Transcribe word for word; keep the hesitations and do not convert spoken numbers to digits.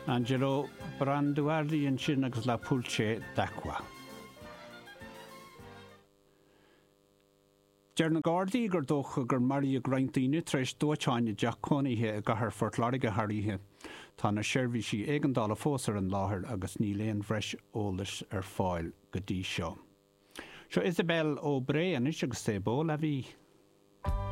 Angelo Branduardi ansin agus La Pulce d'Acqua. Deir na Gardaí gur dócha gur maraíodh roinnt daoine tar éis dóiteáin i dteach cónaithe i gcathair Phort Láirge thar oíche. Tá na seirbhísí éigeandála fós ar an láthair agus níl aon bhreis eolais ar fáil go dtí seo. Seo Isabel Ó Bré anois agus C'est beau la vie.